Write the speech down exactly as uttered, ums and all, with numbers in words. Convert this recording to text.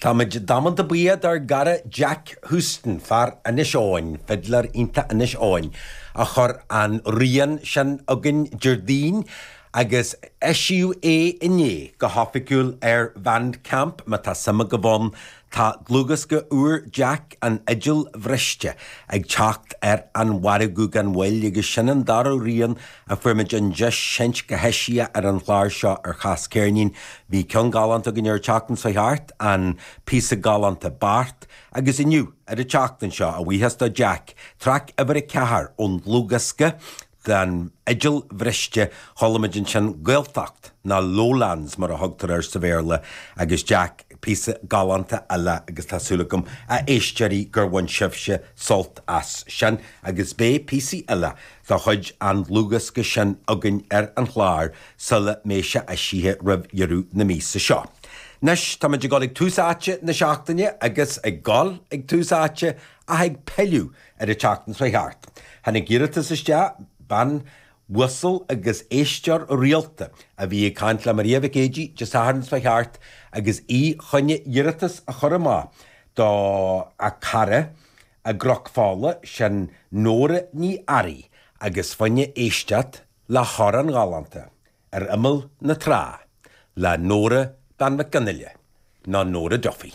Táimid damanta buíoch dár gcara Jack Houston, fear Inis Eoghain, fidléir iontach Inis Eoghain, a chuir an rian sin chugainn Déardaoin agus eisíodh é inné go hoifigiúil ar Bandcamp. Má tá suim agaibh ann, tá dlúthdhiosca úr Jack, An Fhidil Bhriste, ag teacht ar an mhargadh gan mhoill agus sin an dara rian a fuair muid an deis seinnt go heisiach ar an chlár seo ar Chas Ceirnín. Bhí ceann galánta againn ar an tseachtain seo thart, an píosa galánta Bart, agus inniu ar an tseachtain seo, a bhuíochas do Jack, traic uimhir a ceathair ón dlúthdhiosca den Fhidil Bhriste, chuala muid ansin Gaeltacht, nó Lowlands mar a thugtar air sa Bhéarla, agus Jack, píosa galánta eile agus tá súil agam a éisteoirí gur bhain sibhse sult as sin agus beidh píosaí eile de chuid an dlúthdhiosca sin againn ar an chlár sula mbeidh sé eisithe roimh dheireadh na míosa seo. Anois táimid ag dul ag tús áite na seachtaine agus ag dul ag tús áite ach ag pilleadh ar an tseachtain seo thart. Tháinig iarratas isteach, bean uasal agus éisteoir rialta a bhí ag caint le Maria Mhic Éadaigh Dé Sathairn seo thart agus í chun iarratas a chur amach do a cara i gCnoc Fola, sin Nóra Ní Fhearraigh agus fá choinne éisteacht le hamhrán galánta Ar Imeall na Trá le Nóra Bean Mhic Fhionnghaile, nó Nóra Duffy.